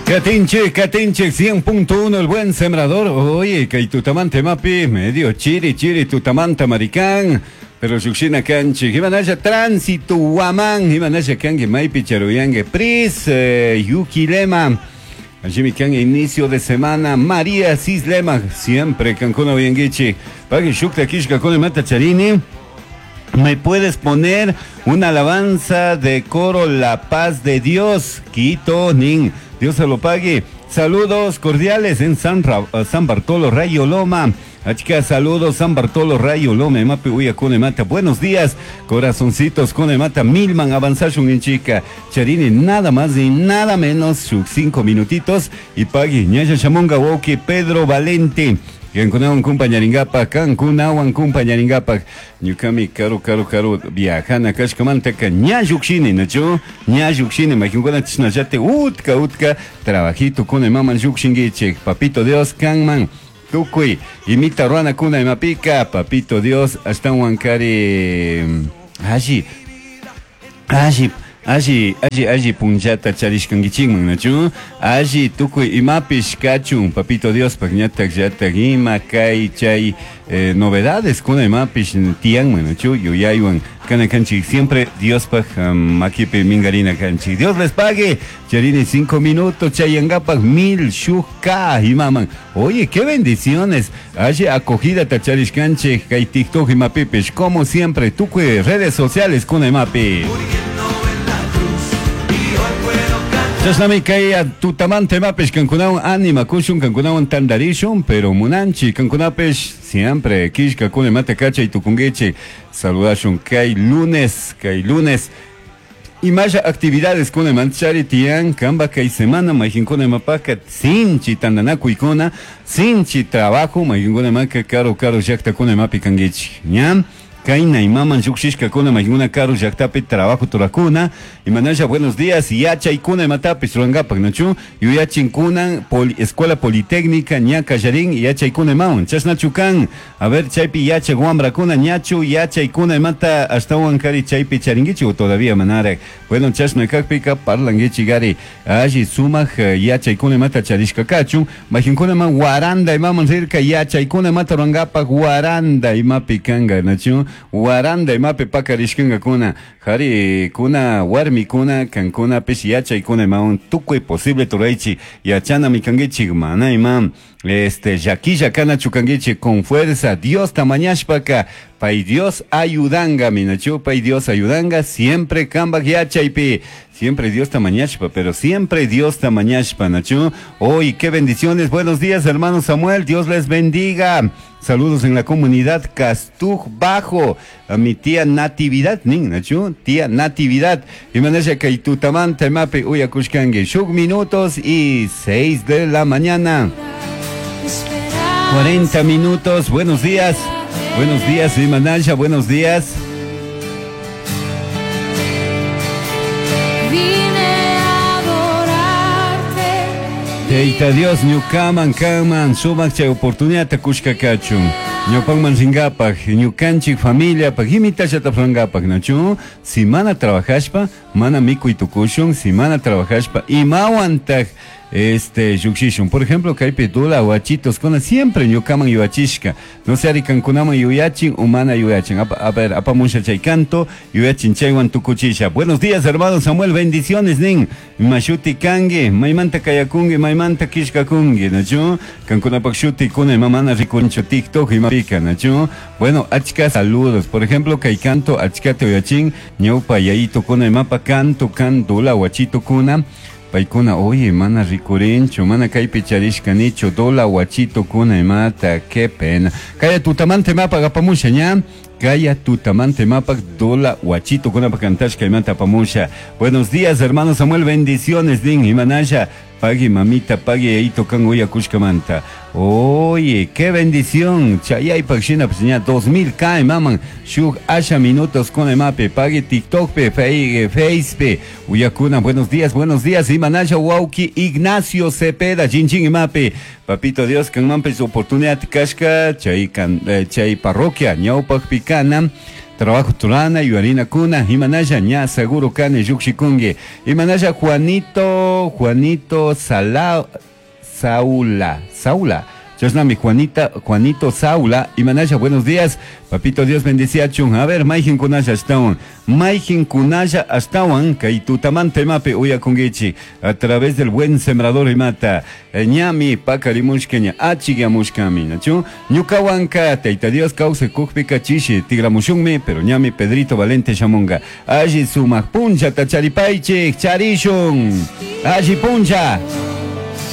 Katinchik, Katinchik, 100.1 el buen sembrador. Oye, kay tutamante mapi, medio chiri, chiri, tutamanta maricán. Pero shushina kanchik, imanasha tránsito huamán, imanasha kanki maypi charuyangue, pris, Yuki Lema. Allí kan inicio de semana, María Cislema, siempre kankuna uyanguichi. Pagui shukta kishka con mata charini. ¿Me puedes poner una alabanza de coro La Paz de Dios? Quito, Nin. Dios se lo pague. Saludos cordiales en San Bartolo, Rayo Loma. Achika, saludos San Bartolo, Rayo Loma, Mapi, Uya, Mata. Buenos días, corazoncitos, Mata, Milman, avanzashun en chica. Charini, nada más y nada menos, sus 5 minutitos. Y pagui, Ñaya Chamonga, Woki, Pedro Valente. Kankunawan kumpañarinkapak, kankunawan kumpañarinkapak. Ñukami karu karu karu viajana kashkamantaka ña llukshini, nachu? Ña llukshini, mayqinkuna chishnallate utka utka trabajito kuna imaman llukshinkichik. Papito Dios kanman tukuy imita ruanakuna imapika, papito Dios ashtawan kari alli alli alli alli alli punllata charishkankichikman, nachu? Alli tukuy imapish kachun, papito Dios pak ñatak llatak ima kay chay novedades kuna imapish tiyanman, nachu? Yuyaywan kana kanchik siempre Dios pak makipi mingarina kanchik. Dios les pague. Charini 5 minutos chayangapak mil shuk ka imaman. Oye, qué bendiciones. Alli acogida tacharishkanchik kay TikTok imapipish, como siempre tukuy redes sociales kuna imapi. Chashnami kay tutamante mapish kankunawan anima kushun kankunawan tandarishun, pero munanchi kankunapish siempre kishka kuna mata kacha y tukunguichi. Saludashun kay lunes, kay lunes. Y más actividades con el manchari tian, kamba kay semana, majinkuna mapaka, sinchi tandanaku ikuna, sinchi trabajo, majinkuna maka caro caro llakta kuna mapi kanguichi. ¿Ya? Kaina y maman yukshishka kuna majinkuna caro llaktapi trabajo turakuna. Y manasha buenos días, yacha ikuna matapis ruangapak, nachu? Yuyachin kunan, escuela politécnica, ñaka yarin, yacha ikuna maun. Chasnachukan, a ver, chaypi yacha guambra kuna, ñachu, yacha ikuna mata, hasta huancari chaypi charinguichi o todavía manara. Bueno, chasna kakpika, parlanguichi gari, alli sumaj, yacha ikuna mata charishka kachun, majinkuna ma guaranda y maman rirka, yacha ikuna mata ruangapak, guaranda y mapi kanga, nachu? Guaranda y mapi pakarishkanga kuna, jari kuna, warmi kuna, kankuna, pish yacha ikuna maun, tukuy posible turaichi, yachana mi kanguichi, mana imam, yaquilla kana chukanguichi, con fuerza, Dios tamañashpaka, pay Dios ayudanga, minachu, pay Dios ayudanga, siempre kambak yachaypi, siempre Dios tamañashpa, pero siempre Dios tamañashpa, nachu. Hoy, qué bendiciones, buenos días, hermano Samuel, Dios les bendiga. Saludos en la comunidad Castuj Bajo, a mi tía Natividad, nin, nachu, tía Natividad. Y manasha kay tutamante mapi uyakushkangue, shuk minutos y 6 de la mañana. 40 minutos, buenos días. Buenos días, Imanasha, buenos días. Vine a adorarte. Teita Dios, ñukaman, kaman, sumak chay oportunidad kushka kachun. Ñupanman ringapak, ñukanchik familia, pak imitashata frangapak, nachu. Si mana trabajashpa, mana mikuy tukushun, si mana trabajashpa, imawantaj, yukshishun. Por ejemplo, kaypi dula huachitos kuna siempre ñukaman yuachishka. No sé, ari kankunaman yuyachin o mana yuyachin. A ver, apamusha chay canto, yuyachin chaywan tukuchisha. Buenos días, hermano Samuel, bendiciones, nin. Mashuti kangi, maymanta kayakungi, maymanta kishkakungi, nachu. Kankunapak shuti kuna mamana rikuncho TikTok y mapika, nachu. Bueno, achka saludos. Por ejemplo, kay canto, achkate uyachin, ñaupa yayito kuna mapa canto, can dula huachito kuna. Paikuna, oye, mana ricurincho, mana kaypi charishka nicho, dola huachito kuna mata, qué pena. Kaya tutamante mapa gapamusha, ña. Kaya tutamante mapa, dola huachito kuna pa cantashka imanta pamusha. Buenos días, hermano Samuel, bendiciones, din, imanasha. Pagui mamita, pagui eito kan uya kushkamanta. Oye, qué bendición. Chayay pakshina pues ña 2000 k maman. Shuk asha minutos con mape. Pagui TikTok pe, Face pe. Uyakuna, buenos días, buenos días. Imanasha wauki Ignacio Cepeda, chin imape. Papito Dios, kan mampe su oportunidad kashka, chay kan, chay parroquia, ñaupak pikana. Trabajo turana yuyarinakuna imanalla ña seguro kani llukshikunki. Imanalla Juanito, Juanito Sala, Saula, Saula. Chashnami Juanita, Juanito Saula, imanalla, buenos días. Papito Dios bendiciachun. A ver, mayqinkunalla ashtawan. Mayqinkunalla ashtawan kay tutamanta imapi uyakunkichik. A través del buen sembrador imata. Ñami pakarimushka ña achikyamushkami, nachu? Ñukawanka Tayta Dios kawsakukpika chishi tigramushunmi, pero ñami Pedrito Valente shamunga. Alli sumak punchata charipaychik, charishun. Alli puncha.